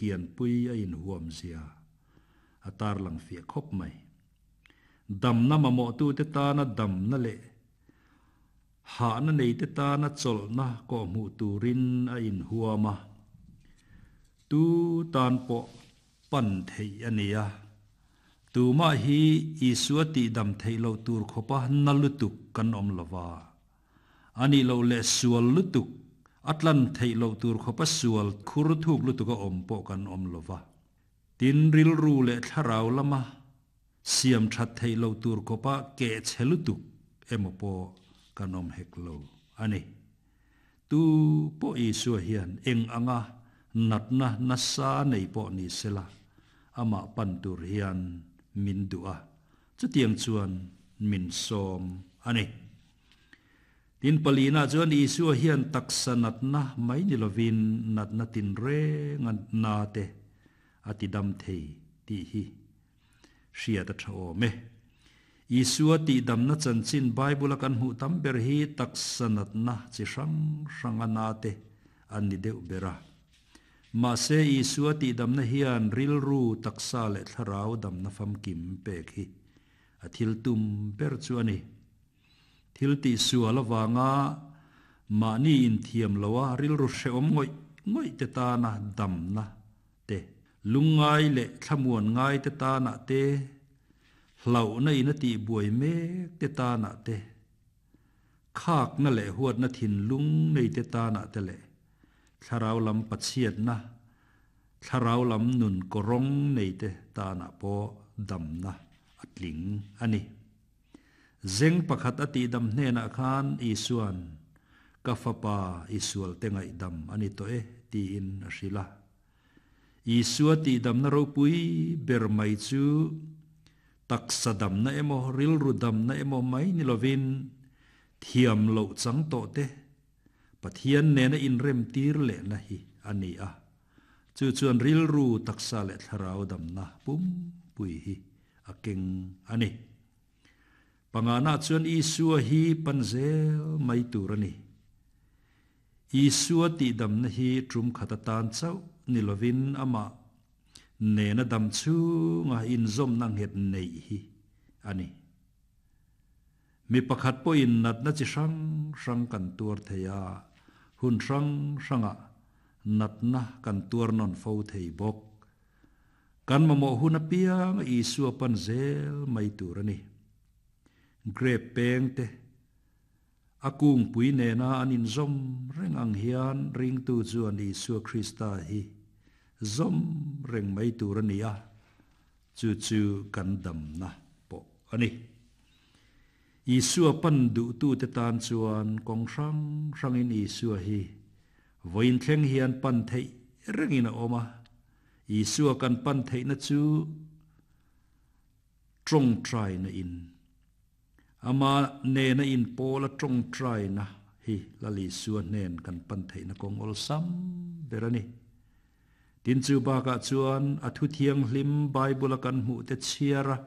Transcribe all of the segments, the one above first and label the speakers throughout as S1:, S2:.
S1: kian pui a inhuam zia a tarlang fiah khawp mai. Damna mamawhtute tana damna leh hahna neite tana chawlhna kawhhmuh turin a inhuam a, tu tan pawh pan theih a ni a. Tumah hi Isua tihdam theih loh tur khawpa na lutuk kan awm lo va. A nih loh leh sual lutuk, a tlan theih loh tur khawpa sual khur thuk lutuka awm pawh kan awm lo va. Tin, rilru leh thlarau lama siam that theih loh tur khawpa keh chhe lutuk emaw pawh kan awm hek lo a ni. Tu pawh Isua hian eng anga natna nasa nei pawh ni sela, amah pan tur hian min duh a, chutiang chuan min sawm a ni. Tin, palina chuan Isua hian taksa natna mai ni lovin natna tinrenga na te a ti dam thei tih hi hriat a tha awm e. Isua tihdamna chanchin Bible-a kan hmuh tam ber hi taksa natna chi hrang hranga na te an ni deuh ber a. Mahse, Isua tihdamna hian rilru, taksa leh thlarau damna famkim pek hi a thil tum ber chu a ni. Thil tihsual avanga mahni inthiam loa rilru hrehawm ngawih ngawih te tana damna te, lungngai leh thlamuan ngai te tanah te, hlauhna in a tihbuai mek te tanah te, khakna leh huatna thinlung nei te tanah te leh thlarau lam pachhiatna, thlarau lam nun kawrawng nei te tanah pawh damna a tling a ni. Zeng pakhat a tihdam hnenah khan Isua'n, Ka fapa, i sualte ngaihdam a ni tawh e, tiin a hrilh a. Isua tihdamna ropui ber mai chu taksa damna emaw, rilru damna emaw mai ni lovin, thiam loh chang tawh te, Pathian nena inremtir lehna hi a ni a. Chu chuan rilru, taksa leh thlarau damna pumpui hi a keng a ni. Pangana chuan Isua hi pan zel mai tur a ni. Isua tihdamna hi tum khat atan chauh ni lovin amah nena dam chhunga inzawmna nghet neih hi a ni. Mi pakhat pawhin natna chi hrang hrang kan tuar thei a, hun hrang hrangah natna kan tuar nawn fo thei bawk. Kan mamawh hun apiang Isua pan zel mai tur a ni. Grape peng te, a kungpui nena an inzawm reng ang hian ringtu chuan Isua Krista hi zawm reng mai tur a ni a, chu chu kan damna pawh a ni. Isua pan duhtute tan chuan kawng hrang hrangin Isua hi vawiin thleng hian pan theih rengin a awm a. Isua kan pan theihna chu tawngtaina in, ama nena inpawla tawngtaina hi Lal Isua hnen kan pan theihna kawng awlsam ber a ni. Tin chu bakah chuan a thu thianghlim Bible-a kan hmuh te chhiar a,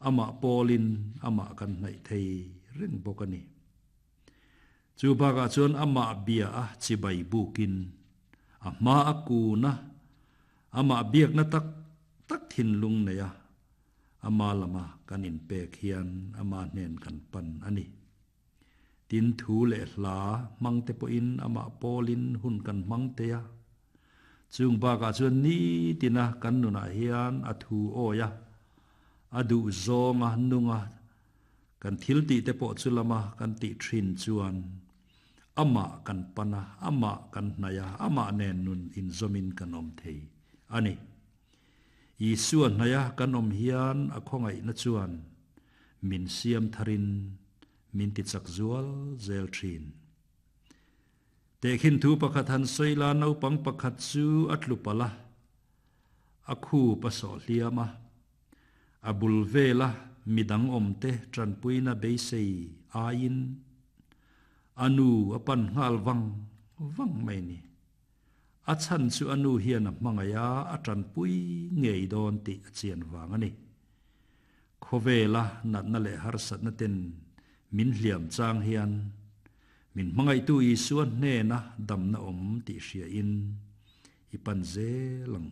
S1: amah pawlin amah kan hnaih thei reng bawk a ni. Chu bakah chuan amah bia a chibai bukin a hma a kun a, amah biakna tak tak thinlung nei a, ama lama kan inpek hian ama hnen kan pan a ni. Tin thu leh hla hmang te pawhin amah pawlin hun kan hmang thei a. Chung bakah chuan nitina kan nunah hian a thu awi a, a duh zawnga nunga Kan thil tih te pawh chu lama kan tih thin chuan amah kan pan a, amah kan hnaih a, amah nen nun inzawmin kan awm thei a ni. Isua hnaih a kan awm hian a khawngaihna chuan min siam tharin min tichak zual zel thin. Tehkhin thu pakhat han sawi la, naupang pakhat chu a tlu palh a, a khup a sawh hliam a. A bul vela midang awmte tanpuina beisei aiin a nu a pan nghal vang vang mai ni. A chhan chu a nu hian a hmangaih a, a tanpui ngei dawn tih a chian vang a ni. Khawvela natna leh harsatna ten min hliam chang hian min hmangaihtu Isua hnena damna awm tih hriain i pan zel ang u.